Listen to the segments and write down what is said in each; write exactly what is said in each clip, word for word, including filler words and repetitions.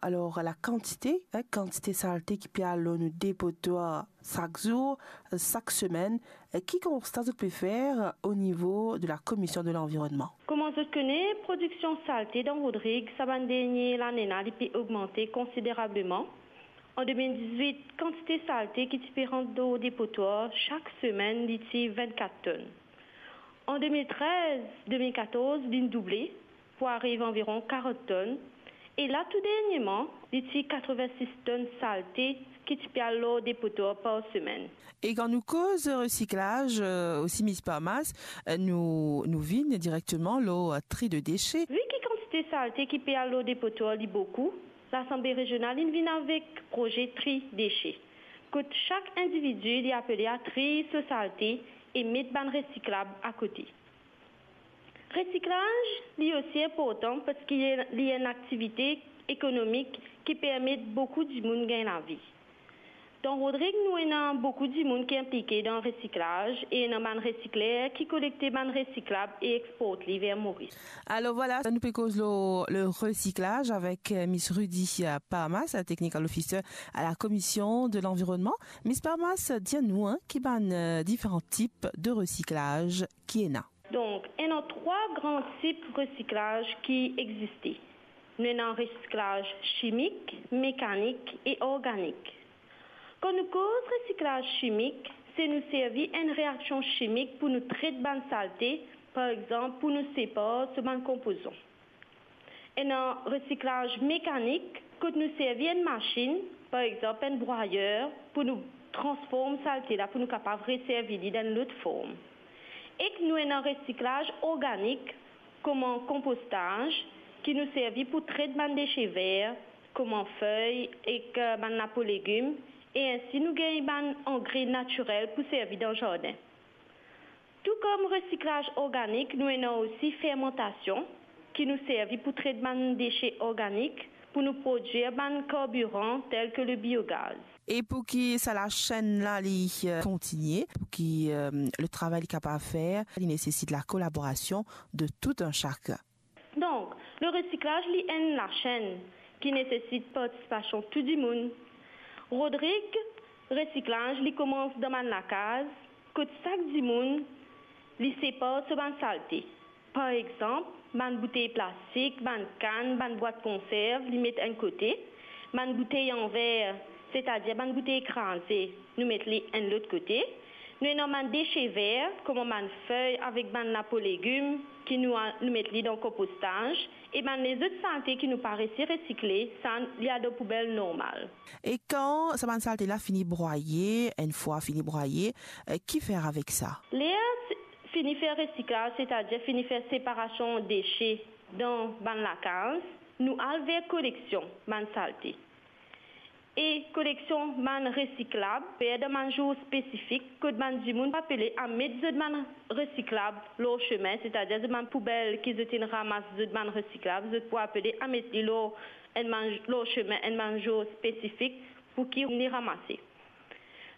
Alor, la kantite, hein, kantite salte ki pe al lor nou depotwar sak zour, sak semenn, ki konsta zot pe fer o nivo de la Komision de Lanvironnman? Kouma zot kone, prodiksion salte dan Rodrig, sa bann dernie lane la, li pe ogmante konsiderableman. An de mil dizwit, kantite salte ki ti pe rant dan depotwar sak semenn, li ti vennkat tonn. An de mil trez, de mil katorz, li'nn double pou ariv anviron karant tonn. E la, tou dernieman, li ti katreven-sis tonn salte ki ti pe al lor depotwar par semenn. E kan nou koz resiklaz, eh, osi, Miss Parmas, eh, nou, nou vinn direkteman lor, eh, tri de dese. Vi ki kantite salte ki pe al lor depotwar, li boukou, Lasanble Rezional inn vinn avek proze tri dese, kot sak individi, li apele a triy so salte e met bann resiklab akote. Resiklaz, li osi inportan parski li enn aktivite ekonomik ki permet boukou dimoun gagn lavi. Dan Rodrig, nou ena boukou dimoun ki inplike dan resiklaz e ena bann resikler ki kolekte bann resiklab e export li ver Moris. Alor vwala, nou pe koz lor le resiklaz avek, eh, Miss Rudy, eh, Parmas, technical officer à la Commission de l'Environnement. Miss Parmas, dir nou, hein, ki bann, eh, diferan tip de resiklaz ki ena. Donk, ena trwa gran tip resiklaz ki existe. Nou ena resiklaz chimik, mekanik e organik. Kan nou koz resiklaz chimik, se nou servi enn reaksion chimik pou nou tret bann salte, par exanp, pou nou separ so bann konpozan. Ena resiklaz mekanik, kot nou servi enn masinn, par exanp enn brwayer, pou nou transform salte la, pou nou kapav reservi li dan enn lot form. Ek nou ena resiklaz organik, kouma konpostaz, ki nou servi pou tret bann dese ver, kouma fey ek, eh, bann lapo legim, e ensi nou gagn bann angre natirel pou servi dan zardin. Tou kom resiklaz organik, nou ena osi fermantasion, ki nou servi pou tret bann dese organik, pou nou prodwir bann karbiran tel ke le biogaz. E pou ki sa lasenn la li, eh, kontinie, pou ki, eh, le travay li kapav fer, li nesesit la kolaborasion de tout un chacun. Donk, le resiklaz, li enn lasenn ki nesesit partisipasion tou dimoun. Rodrig, resiklaz, li koumans dan bann lakaz, kot sak dimoun, li separ so bann salte. Par exanp, bann boutey plastik, bann kann, bann bwat konserv, li met enn kote. Bann boutey an ver, setadir bann boutey kraze, nou met li enn lot kote. Nou ena bann dese ver, kouma bann fey avek bann lapo legim, ki nou a-, nou met li dan konpostaz, e bann lezot salte ki nou pa resi resikle, sa, li al dan poubel normal. E kan sa bann salte la fini brwaye, enn fwa fini brwaye, eh, ki fer avek sa? Ler s-, fini fer resiklaz, setadir fini fer separasion dese dan bann lakaz, nou al ver koleksion bann salte. E koleksion bann resiklab, fer dan bann zour spesifik, kot bann dimoun pou apele a met zot bann resiklab lor sime, setadir zot bann poubel ki zot inn ramas zot bann resiklab, zot pou apele a met li lor enn bann, lor sime, enn bann zour spesifik pou ki li ramase.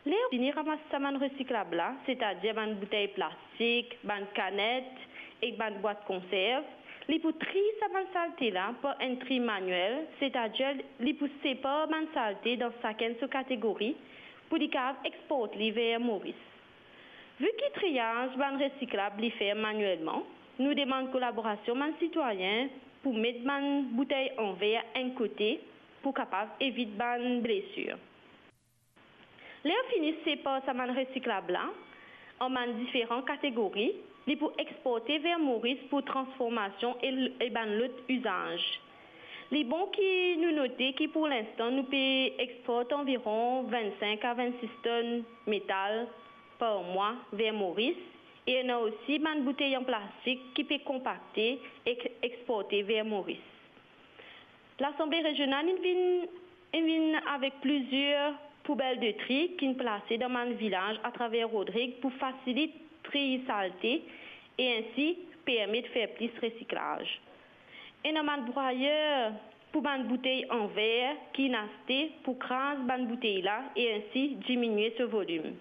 Ler fini ramas sa bann resiklab la, setadir bann boutey plastik, bann kanet ek bann bwat konserv, li pou triy sa bann salte la par enn tri maniel, setadir li pou separ bann salte dan sakenn so kategori pou li kapav export li ver Moris. Vi ki triyaz bann resiklab li fer manielman, nou demann kolaborasion bann sitwayin pou met bann boutey an ver enn kote pou kapav evit bann blesir. Ler fini separ sa bann resiklab la an bann diferan kategori, li pou exporte ver Moris pou transformasion e, e bann lot izaz. Li bon ki nou note ki pou linstan nou pe export anviron vennsenk a vennsis tonn metal par mwa ver Moris, e ena osi bann boutey an plastik ki pe konpakte ek exporte ver Moris. Lasanble Rezional inn vinn, inn vinn avek plizier poubel de tri ki'nn plase dan bann vilaz atraver Rodrig pou fasilit triy salte e ensi permet fer plis resiklaz. Ena bann brwayer pou bann boutey an ver ki'nn aste pou kraz bann boutey la e ensi diminie so volim.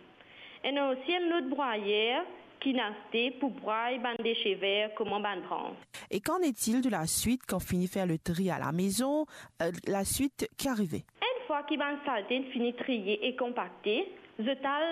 Ena osi enn lot brwayer ki'nn aste pou bray bann dese ver kouma bann brans. Et qu'en est-il de la suite quand fini fer le tri à la maison, euh, la suite qui arrivait? Enn fwa ki bann salte fini triye e konpakte, zot al